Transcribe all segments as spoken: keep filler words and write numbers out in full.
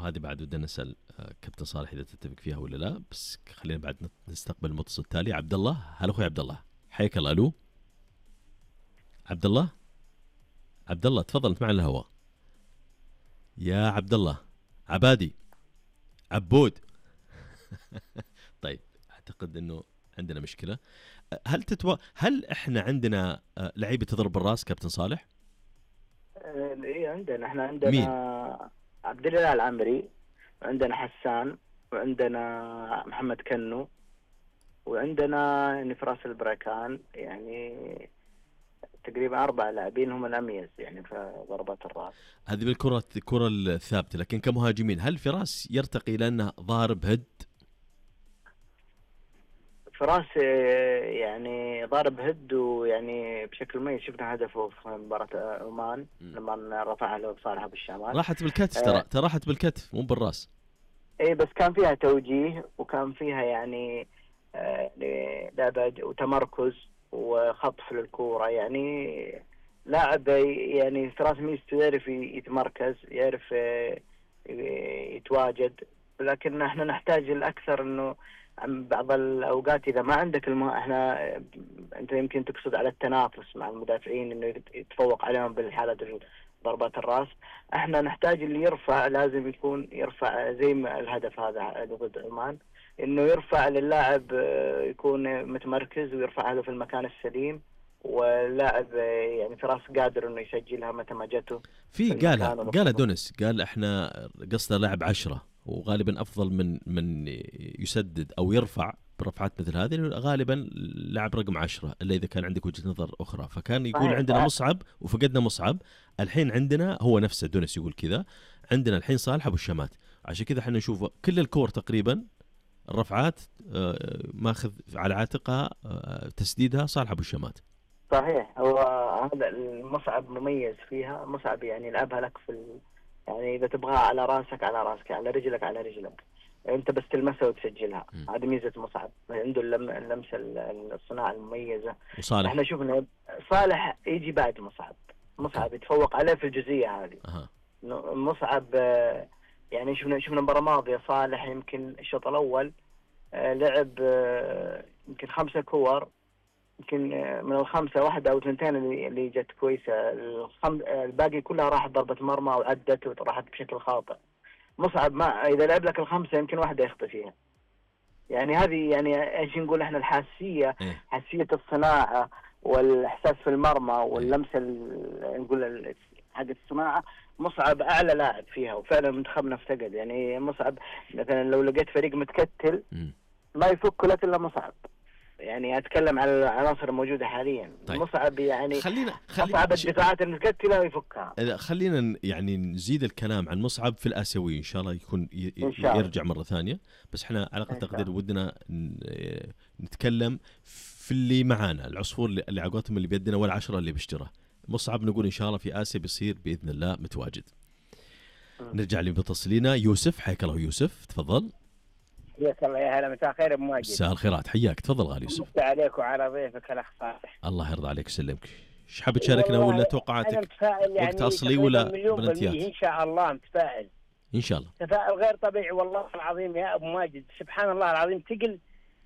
هذه بعد ودنا نسأل كابتن صالح إذا تتفق فيها ولا لا، بس خلينا بعد نستقبل المتصل التالي. عبد الله، هلا أخوي عبد الله، حياك الله. ألو عبد الله، عبد الله تفضل أنت معنا الهواء. يا عبد الله، عبادي، عبود. طيب أعتقد إنه عندنا مشكلة. هل تتو... هل إحنا عندنا لعيبة تضرب الراس كابتن صالح؟ إيه عندنا، إحنا عندنا مين؟ عبد الله العمري، وعندنا حسان، وعندنا محمد كنو، وعندنا نفراس البركان. يعني تقريبا أربع لاعبين هم الأميز يعني في ضربات الراس. هذه بالكرة الكرة الثابتة، لكن كمهاجمين هل فراس يرتقي لأنه ضارب هد؟ فراس يعني ضارب هد، ويعني بشكل مميز شفنا هدفه في مباراة عمان لما رفعها له صالح أبو الشمال. راحت بالكتف، ترى ترى راحت بالكتف مو بالراس. ايه بس كان فيها توجيه، وكان فيها يعني لعبة وتمركز وخطف للكورة. يعني لاعب يعني فراس ميزته يعرف يتمركز، يعرف يتواجد، لكن احنا نحتاج الأكثر انه بعض الأوقات إذا ما عندك الم... احنا أنت يمكن تقصد على التنافس مع المدافعين إنه يتفوق عليهم بالحالة ضربات الرأس. احنا نحتاج اللي يرفع، لازم يكون يرفع زي ما الهدف هذا ضد عمان، إنه يرفع للاعب يكون متمركز ويرفع له في المكان السليم، واللاعب يعني فراس قادر إنه يسجلها متى ما جته. في قالها قال دونس، قال احنا قصده لاعب عشرة، وغالبا افضل من من يسدد او يرفع برفعات مثل هذه، غالبا لاعب رقم عشرة الا اذا كان عندك وجهة نظر اخرى. فكان يقول عندنا مصعب وفقدنا مصعب، الحين عندنا هو نفسه دونس يقول كذا، عندنا الحين صالح ابو الشمات. عشان كذا احنا نشوف كل الكور تقريبا الرفعات ماخذ على عاتقها تسديدها صالح ابو الشمات. صحيح، هو هذا المصعب مميز فيها. مصعب يعني لعبها لك في ال... يعني إذا تبغاها على راسك على راسك، على رجلك على رجلك، أنت بس تلمسها وتسجلها. هذه ميزة مصعب، عنده اللم... اللمسة الصناعة المميزة. وصالح احنا شفنا صالح يجي بعد مصعب، مصعب يتفوق عليه في الجزئية هذه. أه. مصعب يعني شفنا شفنا المباراة الماضية صالح يمكن الشوط الأول لعب يمكن خمسة كور، يمكن من الخمسة واحدة أو اثنتين اللي جت كويسة، الخم... الباقي كلها راحت ضربة مرمى وعدت وراحت بشكل خاطئ. مصعب ما إذا لعب لك الخمسة يمكن واحدة يخطئ فيها. يعني هذه يعني إيش نقول إحنا الحاسية، إيه؟ حاسية الصناعة والإحساس في المرمى واللمسة ال... نقول حق الصناعة. مصعب أعلى لاعب فيها، وفعلا منتخبنا افتقد. يعني مصعب مثلا لو لقيت فريق متكتل ما يفك لك إلا مصعب. يعني أتكلم على العناصر الموجودة حاليا. طيب. مصعب يعني خلينا خلينا مصعب الدفاعات المتكتلة ويفكها. خلينا يعني نزيد الكلام عن مصعب في الآسيوي إن شاء الله يكون ي... الله. يرجع مرة ثانية. بس احنا على أقل تقدير ودنا نتكلم في اللي معانا، العصفور اللي عقوتهم اللي بيدنا والعشرة اللي بيشترى. مصعب نقول إن شاء الله في آسيا بيصير بإذن الله متواجد. م. نرجع لمتصلينا يوسف. حياك الله يوسف، تفضل. حياك الله، يا هلا، مساء الخير ابو ماجد. مساء الخيرات، حياك، تفضل غالي يوسف. مساء عليك وعلى ضيفك الاخ صالح. الله يرضى عليك ويسلمك. ايش حاب تشاركنا ولا توقعاتك يعني وقت اصلي ولا بلنتيات؟ ان شاء الله متفائل ان شاء الله، تفاؤل غير طبيعي والله العظيم يا ابو ماجد. سبحان الله العظيم، تقل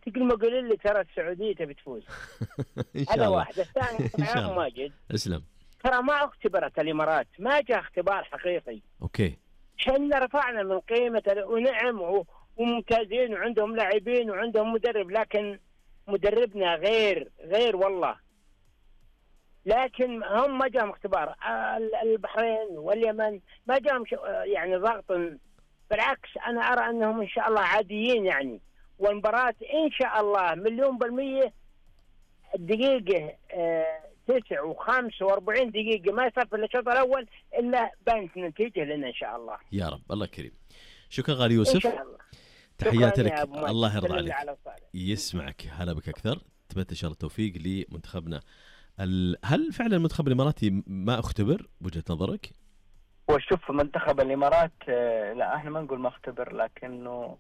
تقل ما قول لي ترى السعوديه تبي تفوز. ان شاء الله. الله واحد الثاني يا ابو ماجد، اسلم. ترى ما اختبرت الامارات، ما جاء اختبار حقيقي. اوكي، احنا رفعنا من قيمه ونعم وممتازين وعندهم لاعبين وعندهم مدرب، لكن مدربنا غير غير والله. لكن هم ما جاهم اختبار. البحرين واليمن ما جاهم يعني ضغط، بالعكس انا ارى انهم ان شاء الله عاديين يعني. والمباراة ان شاء الله مليون بالمية. الدقيقة اه تسع وخمس واربعين دقيقة ما يصير في الشوط الاول الا بانت نتيجة لنا ان شاء الله. يا رب، الله كريم. شكرا غالي يوسف، ان شاء الله. تحياتي لك، الله يرضى عليك، على يسمعك. هلا بك اكثر. اتمنى ان شاء الله التوفيق لمنتخبنا. هل فعلا المنتخب الاماراتي ما اختبر بوجهة نظرك؟ وشوف منتخب الامارات لا احنا ما نقول ما اختبر، لكنه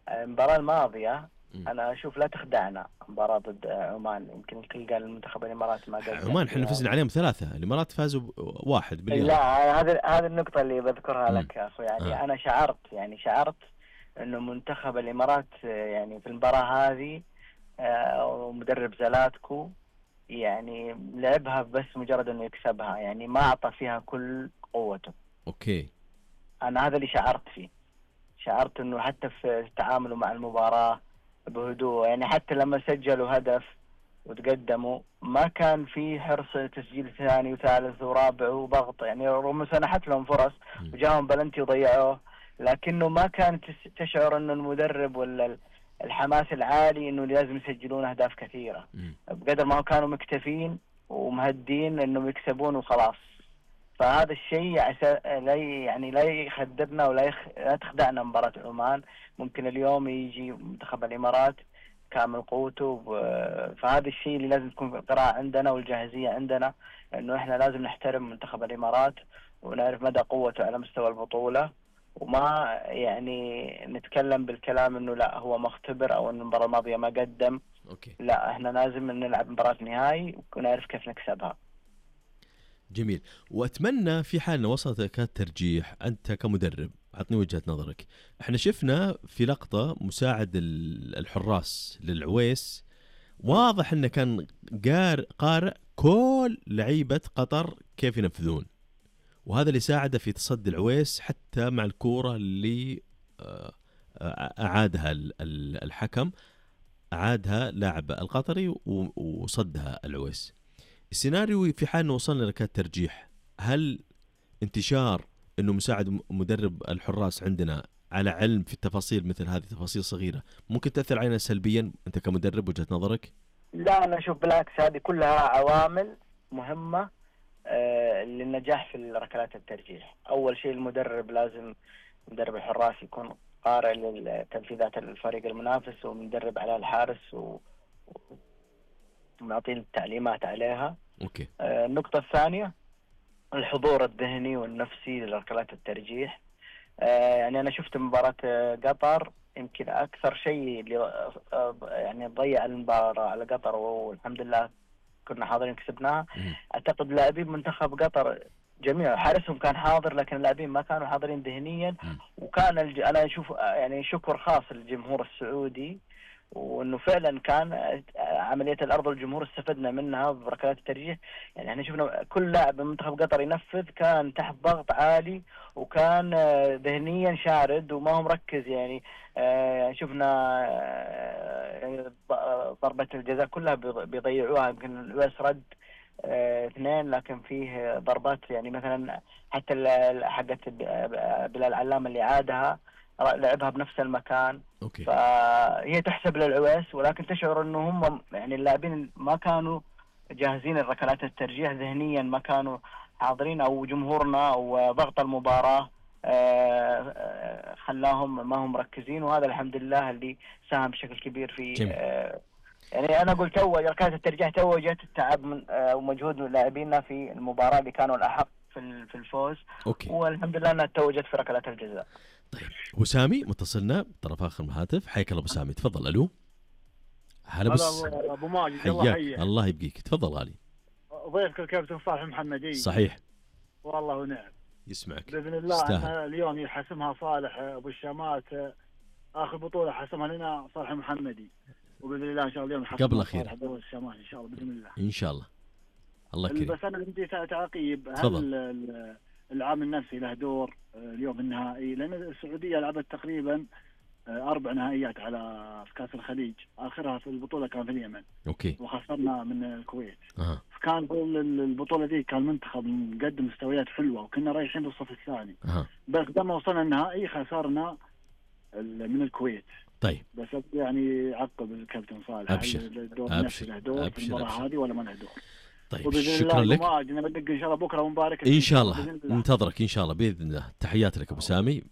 المباراة الماضية انا اشوف لا تخدعنا مباراه ضد عمان. يمكن الكل قال المنتخب الاماراتي ما قدم. عمان احنا فزنا عليهم ثلاثه، الامارات فازوا واحد بالرياض. لا هذه هذه النقطه اللي بذكرها مم. لك يا اخوي. يعني آه. انا شعرت يعني شعرت انه منتخب الامارات يعني في المباراه هذه ومدرب زلاتكو يعني لعبها بس مجرد انه يكسبها، يعني ما اعطى فيها كل قوته. اوكي. انا هذا اللي شعرت فيه. شعرت انه حتى في تعامله مع المباراه بهدوء، يعني حتى لما سجلوا هدف وتقدموا ما كان في حرص تسجيل ثاني وثالث ورابع وضغط، يعني رغم سنحت لهم فرص وجاهم بلنتي وضيعوه، لكنه ما كانت تشعر انه المدرب ولا الحماس العالي انه لازم يسجلون اهداف كثيره، بقدر ما كانوا مكتفين ومهدين انهم يكسبون وخلاص. فهذا الشيء لا يعني لا يخدرنا ولا يخ... لا تخدعنا مباراة عمان. ممكن اليوم يجي منتخب الامارات كامل قوته ب... فهذا الشيء اللي لازم تكون في القراءة عندنا والجاهزية عندنا، انه احنا لازم نحترم منتخب الامارات ونعرف مدى قوته على مستوى البطولة، وما يعني نتكلم بالكلام انه لا هو مختبر او انه المباراة الماضية ما قدم. أوكي. لا احنا لازم نلعب مباراة نهائي ونعرف كيف نكسبها. جميل. وأتمنى في حال وصلت الترجيح أنت كمدرب عطني وجهة نظرك. احنا شفنا في لقطة مساعد الحراس للعويس واضح انه كان قارئ كل لعيبة قطر كيف ينفذون، وهذا اللي ساعده في تصدي العويس حتى مع الكورة اللي أعادها الحكم، أعادها لاعب القطري وصدها العويس. السيناريو في حال وصلنا لركلات ترجيح، هل انتشار انه مساعد مدرب الحراس عندنا على علم في التفاصيل مثل هذه تفاصيل صغيرة ممكن تأثر علينا سلبيا انت كمدرب وجهة نظرك؟ لا انا اشوف بالعكس، هذه كلها عوامل مهمة آه للنجاح في ركلات الترجيح. اول شيء المدرب لازم مدرب الحراس يكون قارئ لتنفيذات الفريق المنافس ومدرب على الحارس و ونعطيه التعليمات عليها. أوكي. آه النقطة الثانية الحضور الذهني والنفسي لركلات الترجيح. آه يعني أنا شفت مباراة قطر يمكن أكثر شيء اللي آه يعني ضيع المباراة على قطر، والحمد لله كنا حاضرين كسبناها. أعتقد لاعبين منتخب قطر جميع حارسهم كان حاضر، لكن اللاعبين ما كانوا حاضرين ذهنيا. وكان الج... أنا أشوف يعني شكر خاص للجمهور السعودي، وانه فعلا كان عمليه الارض والجمهور استفدنا منها بركلات الترجيح. يعني احنا شفنا كل لاعب من منتخب قطر ينفذ كان تحت ضغط عالي وكان ذهنيا شارد وما هو مركز. يعني شفنا ضربه الجزاء كلها بيضيعوها، يمكن الويس رد اثنين لكن فيه ضربات يعني مثلا حتى حقت بلال علام اللي عادها لعبها بنفس المكان. أوكي. فهي تحسب للعويس، ولكن تشعر انه هم يعني اللاعبين ما كانوا جاهزين الركلات الترجيح ذهنيا، ما كانوا حاضرين، او جمهورنا او ضغط المباراة خلاهم ما هم مركزين. وهذا الحمد لله اللي ساهم بشكل كبير في يعني انا قلت تو ركلات الترجيح توجت التعب من ومجهود لاعبينا في المباراة اللي كانوا الاحق في في الفوز. أوكي. والحمد لله انها توجت في ركلات الجزاء. طيب وسامي متصلنا طرف اخر الهاتف، حياك الله ابو سامي، تفضل. الو هلا بس ابو ماجد، الله يحييك. الله يبقيك، تفضل غالي. ضيفك الكابتن صالح محمدي. صحيح والله ونعم. يسمعك باذن الله. اليوم يحسمها صالح ابو الشامات، اخر بطوله حسمها لنا صالح محمدي، وباذن الله ان شاء الله اليوم يحسمها قبل اخير ابو الشامات ان شاء الله باذن الله. ان شاء الله. الله يكرمك. بس انا بدي تعقيب، هل العامل النفسي له دور اليوم النهائي؟ لان السعوديه لعبت تقريبا اربع نهائيات على في كاس الخليج، اخرها في البطوله كان في اليمن. اوكي. وخسرنا من الكويت. أه. فكان البطوله دي كان منتخب مقدم مستويات حلوه وكنا رايحين بالصف الثاني. أه. بس لما وصلنا النهائي خسرنا من الكويت. طيب بس يعني عقب الكابتن صالح، ابشر الدور النفسي له دور في المباراه هذه ولا ما له دور؟ طيب شكرا لك. انا بدق ان شاء الله بكره ومبارك ان شاء الله، ننتظرك ان شاء الله باذن الله. تحياتي لك ابو سامي،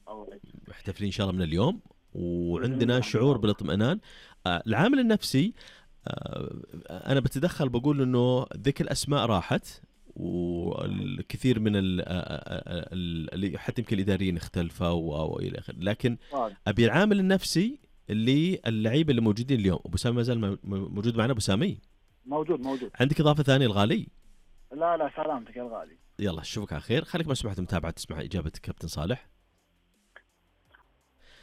محتفلين ان شاء الله من اليوم وعندنا شعور بالاطمئنان. آه العامل النفسي آه انا بتدخل بقول انه ذيك الاسماء راحت، والكثير من اللي حتى يمكن الاداريين اختلفوا او الى اخره، لكن ابي العامل النفسي اللي اللعيبه اللي موجودين اليوم. ابو سامي ما زال موجود معنا؟ ابو سامي موجود موجود. عندك اضافه ثانيه الغالي؟ لا لا سلامتك يا الغالي. يلا اشوفك على خير. خليك مسموح متابعه تسمع اجابه كابتن صالح.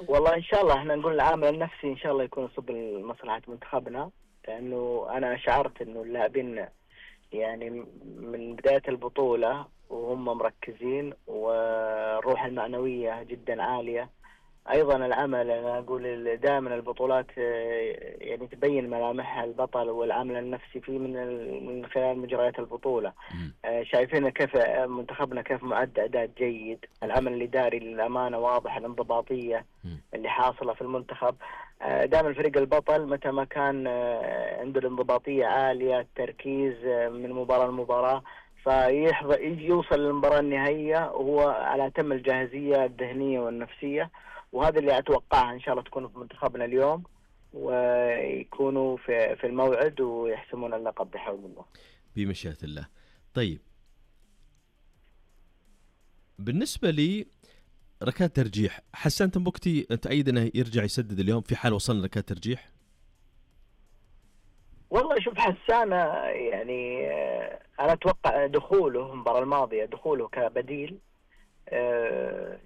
والله ان شاء الله احنا نقول العامل النفسي ان شاء الله يكون صب مصلحه منتخبنا، لانه انا شعرت انه اللاعبين يعني من بدايه البطوله وهم مركزين والروح المعنويه جدا عاليه. ايضا العمل، انا اقول دائما البطولات يعني تبين ملامحها البطل والعامل النفسي فيه من من خلال مجريات البطوله. شايفين كيف منتخبنا كيف معد اعداد جيد، العمل الاداري للامانه واضح، الانضباطيه اللي حاصله في المنتخب. دائما فريق البطل متى ما كان عنده الانضباطيه عاليه، التركيز من مباراه لمباراه، فيحظى يوصل للمباراه النهائيه وهو على اتم الجاهزيه الذهنيه والنفسيه. وهذا اللي أتوقعه إن شاء الله تكون في منتخبنا اليوم، ويكونوا في في الموعد ويحسمون اللقب بحول الله بمشيئة الله. طيب بالنسبة لي ركات ترجيح، حسان تنبكتي تأيد أنه يرجع يسدد اليوم في حال وصلنا ركات ترجيح؟ والله شوف حسان يعني أنا أتوقع دخوله المباراة الماضية دخوله كبديل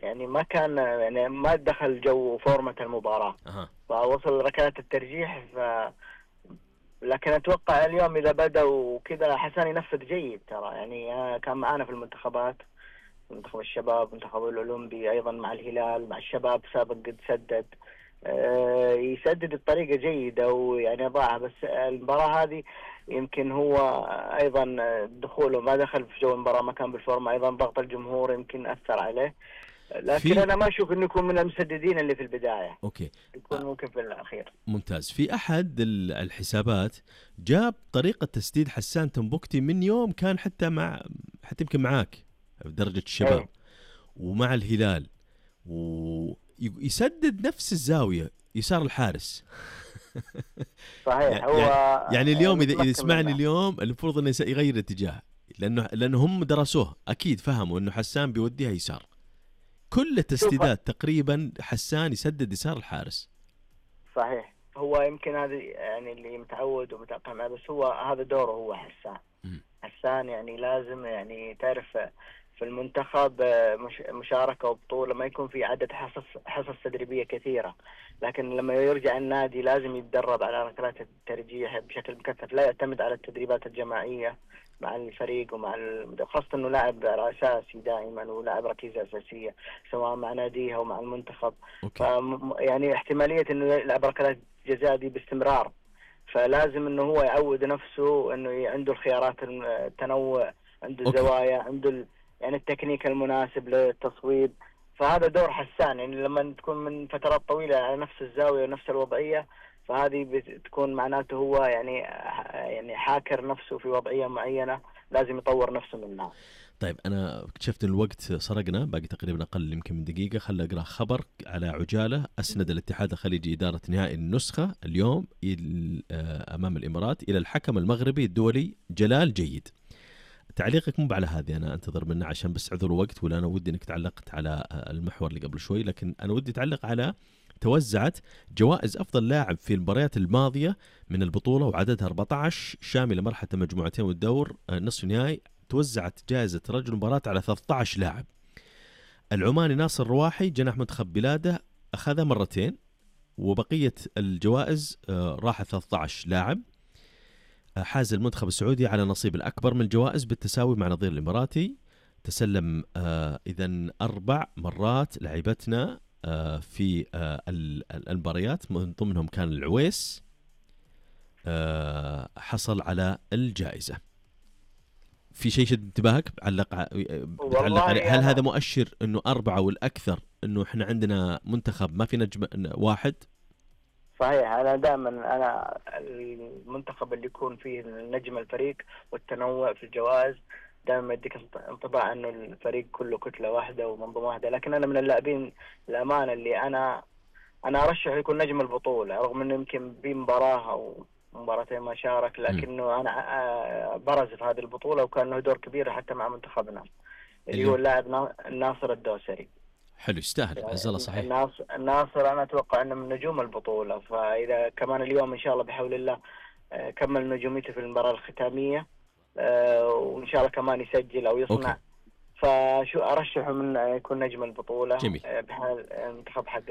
يعني ما كان يعني ما دخل جو فورمة المباراة أه. فوصل ركلات الترجيح ف... لكن أتوقع اليوم إذا بدأ وكذا حسان ينفذ جيد ترى. يعني كان معانا في المنتخبات، منتخب الشباب، منتخب الأولمبي، أيضا مع الهلال، مع الشباب سابق قد سدد، أه يسدد بطريقة جيدة ويعني ضاعها. بس المباراة هذه يمكن هو أيضا دخوله ما دخل في جو المباراة، ما كان بالفورمة، أيضا ضغط الجمهور يمكن أثر عليه. لكن أنا ما أشوف إنه يكون من المسددين اللي في البداية. أوكي. يكون ممكن في الأخير. ممتاز. في أحد الحسابات جاب طريقة تسديد حسان تنبكتي من يوم كان حتى مع حتى يمكن معاك في درجة الشباب أي. ومع الهلال، ويسدد نفس الزاوية يسار الحارس. صحيح. هو يعني, يعني اليوم إذا إذا سمعني اليوم المفروض إنه يغير الاتجاه، لأنه لأنه هم درسوه أكيد، فهموا إنه حسان بيوديها يسار. كل التسديدات تقريبا حسان يسدد يسار الحارس. صحيح. هو يمكن هذا يعني اللي متعود ومتأقلم معه، بس هو هذا دوره هو حسان. م. حسان يعني لازم يعني تعرف في المنتخب مش مشاركة وبطولة ما يكون في عدد حصص حصص تدريبية كثيرة، لكن لما يرجع النادي لازم يتدرب على ركلات الترجيح بشكل مكثف، لا يعتمد على التدريبات الجماعية مع الفريق ومع ال... خاصة انه لاعب اساسي دائما ولاعب ركيزة اساسية سواء مع ناديه او مع المنتخب. ف... يعني احتمالية انه يلعب ركلات جزاء دي باستمرار، فلازم انه هو يعود نفسه انه عنده الخيارات التنوع، عنده الزوايا، عنده ال... يعني التكنيك المناسب للتصويب. فهذا دور حسان، يعني لما تكون من فترات طويلة على نفس الزاوية ونفس الوضعية، فهذه بتكون معناته هو يعني يعني حاكر نفسه في وضعية معينة، لازم يطور نفسه منها. طيب أنا اكتشفت الوقت سرقنا، باقي تقريبا أقل يمكن من دقيقة. خلنا أقرأ خبر على عجالة. أسند الاتحاد الخليجي إدارة نهائي النسخة اليوم أمام الإمارات إلى الحكم المغربي الدولي جلال جيد. تعليقك مو على هذه، أنا أنتظر منه عشان بس عذر وقت، ولا أنا ودي أنك تعلقت على المحور اللي قبل شوي، لكن أنا ودي تعلق على توزعت جوائز أفضل لاعب في المباريات الماضية من البطولة وعددها أربعة عشر شاملة مرحلة المجموعتين والدور نصف النهائي. توزعت جائزة رجل المباراة على ثلاثة عشر لاعب. العماني ناصر رواحي جناح منتخب بلاده أخذها مرتين، وبقية الجوائز راحت ثلاثة عشر لاعب. حاز المنتخب السعودي على نصيب الأكبر من الجوائز بالتساوي مع نظير الإماراتي. تسلم آه إذن أربع مرات لعيبتنا آه في آه المباريات، من ضمنهم كان العويس آه حصل على الجائزة. في شيء شد انتباهك علق بتعلق عليه؟ هل هذا مؤشر إنه أربعة والأكثر إنه إحنا عندنا منتخب ما في نجم واحد؟ صحيح. أنا دائما أنا المنتخب اللي يكون فيه نجم الفريق والتنوع في الجوائز دائما يديك انطباع أنه الفريق كله كتلة واحدة ومنظومة واحدة. لكن أنا من اللاعبين الأمانة اللي أنا أنا أرشح يكون نجم البطولة، رغم أنه يمكن بمباراة أو مباراتين ما شارك، لكنه أنا برز في هذه البطولة وكان له دور كبير حتى مع منتخبنا اللي هو اللاعب ناصر الدوسري. حلو يستاهل عز الله. صحيح. الناصر الناصر انا اتوقع انه من نجوم البطوله، فاذا كمان اليوم ان شاء الله بحول الله كمل نجوميته في المباراه الختاميه وان شاء الله كمان يسجل او يصنع. أوكي. فشو ارشحه من يكون نجم البطوله. جميل. بحال المنتخب حق